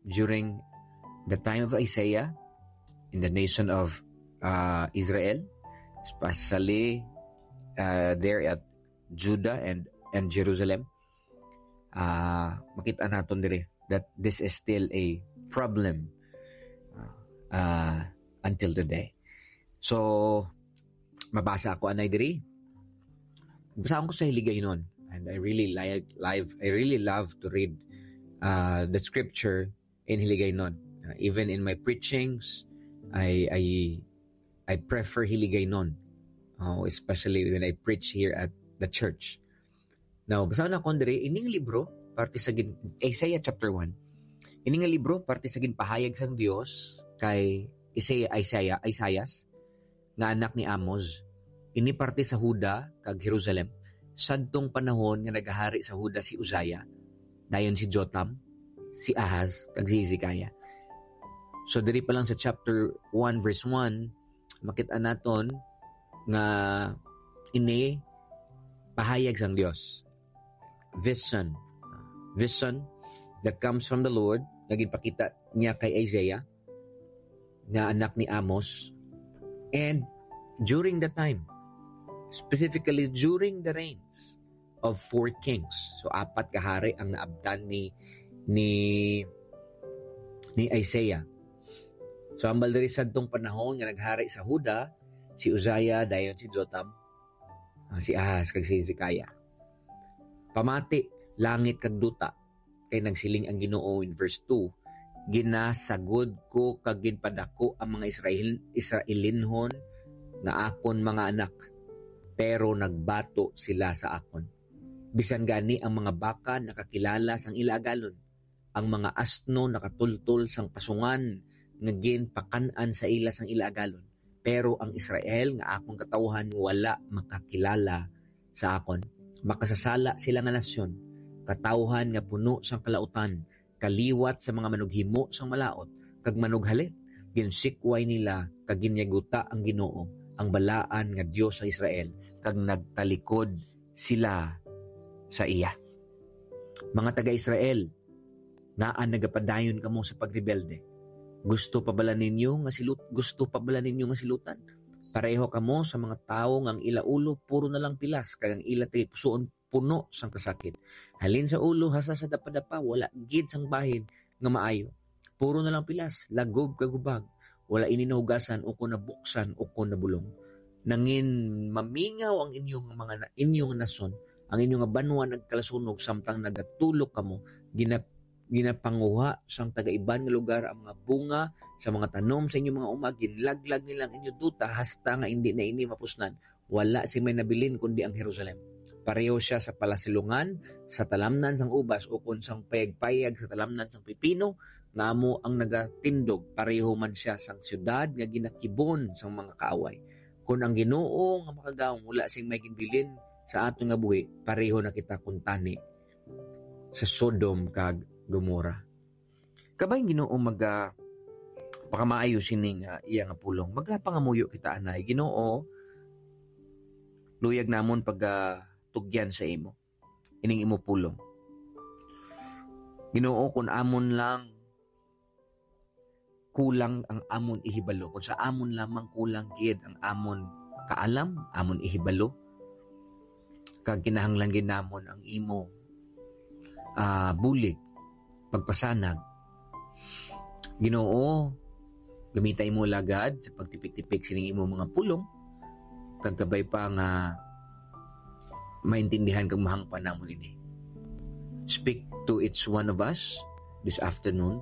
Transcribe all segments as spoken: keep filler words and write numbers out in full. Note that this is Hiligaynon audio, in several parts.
during the time of Isaiah in the nation of uh, Israel, especially uh, there at Judah and, and Jerusalem, uh, makita naton diri that this is still a problem uh, uh, until today. So, mabasa ako anay diri. Basahon ko sa Hiligaynon. And I really like live. I really love to read uh, the scripture in Hiligaynon. Uh, even in my preachings, I I I prefer Hiligaynon, uh, especially when I preach here at the church. Now, basahon naton diri ining libro parte sa gin, Isaiah chapter one. Ini nga libro parte sa ginpahayag sang Dios kay Isaiah, Isaiah, Isaias, nga anak ni Amos. Ini parte sa Huda kag Jerusalem, sadtong panahon nga nagahari sa Huda si Uzziah, dayon si Jotham, si Ahaz, kag si Hezekiah. So diri pa lang sa chapter one verse one, makita naton nga ini pahayag sang Dios. Vision. Vision that comes from the Lord nga ginpakita niya kay Isaiah, nga anak ni Amos. And during the time, specifically during the reigns of four kings. So, apat ka hari ang naabtan ni ni ni Isaiah. So, hambal diri sadtong panahon nga naghari sa Huda, si Uzziah, dayon si Jotham, ah, si Ahaz, kag si Hezekiah. Pamati, langit kag duta, kay nagsiling ang Ginoo in verse two, "Ginasagod ko kag ginpadako ang mga Israel, Israelinhon nga akon mga anak, pero nagbato sila sa akon. Bisan gani ang mga baka nakakilala sang ila agalon, ang mga asno nakatultol sang pasungan nga ginpakan-an sa ila sang ila agalon. Pero ang Israel nga akon katawhan wala makakilala sa akon. Makasasala sila nga nasyon, katawhan nga puno sang kalautan, kaliwat sa mga manughimo sang malaut kag manughalit. Ginsikway nila kag ginyaguta ang Ginoo, ang balaan nga Dios sa Israel, kag nagtalikod sila sa iya." Mga taga-Israel, ngaa nagapadayon kamo sa pagrebelde? Gusto pa bala ninyo nga silut-, gusto pa bala ninyo nga silutan? Pareho kamo sa mga tawo nga ang ila ulo puro na lang pilas, kag ang ila tagipusoon puno sang kasakit. Halin sa ulo hasta sa dapadapa, wala gid sang bahin nga maayo. Puro na lang pilas, lagob kag hubag. Wala ini nahugasan ukon nabuksan ukon nabulong. Nangin mamingaw ang inyong mga na-, inyong nason, ang inyong nga banwa nagkalasunog samtang nagatulok kamo, gina-, ginapanguha sang taga-iban nga lugar ang mga bunga sa mga tanom sa inyong mga uma, ginlaglag nila ang inyong duta hasta nga indi na ini mapuslan. Wala sing may nabilin kundi ang Jerusalem. Pareho siya sa palasilungan, sa talamnan sang ubas, ukon sang payagpayag sa talamnan sang pipino, nga amo ang nagatindog. Pareho man siya sang siyudad nga ginakibon sang mga kaaway. Kon ang Ginoo nga makagagahom wala sing may ginbilin sa aton nga buhi, pareho na kita kuntani sa Sodom kag Gomorrah. Kabay ang Ginoo maga pakamaayo sini nga iya nga pulong. Magapangamuyo kita anay, "Ginoo, luyag namon pagatugyan sa imo ining imo pulong. Ginoo, kun amon lang kulang ang amon ihibalo, kun sa amon lamang kulang gid ang amon kaalam, amon ihibalo, kag kinahanglan gid namon ang imo, ah, bulig, pagpasanag. Ginoo, gamita imo lagad sa pagtipik-tipik sining imo mga pulong, kag kabay pa nga maintindihan kag mahangpan namon ini. Speak to each one of us this afternoon,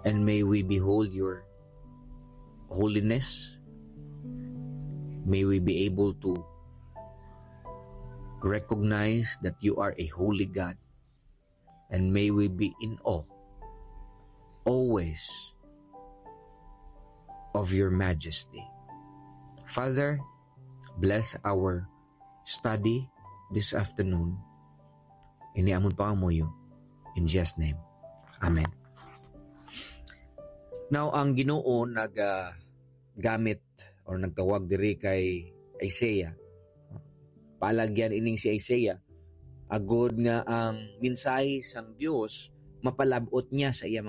and may we behold your holiness. May we be able to recognize that you are a holy God, and may we be in awe always of your majesty." Father, bless our study this afternoon. Ini amon pangamuyo. In Jesus' name. Amen. Now, ang Ginoo naga gamit or nagtawag diri kay Isaiah. Paalagyan ining si Isaiah, agod nga ang mensahe sang Dios mapalab-ot niya sa iya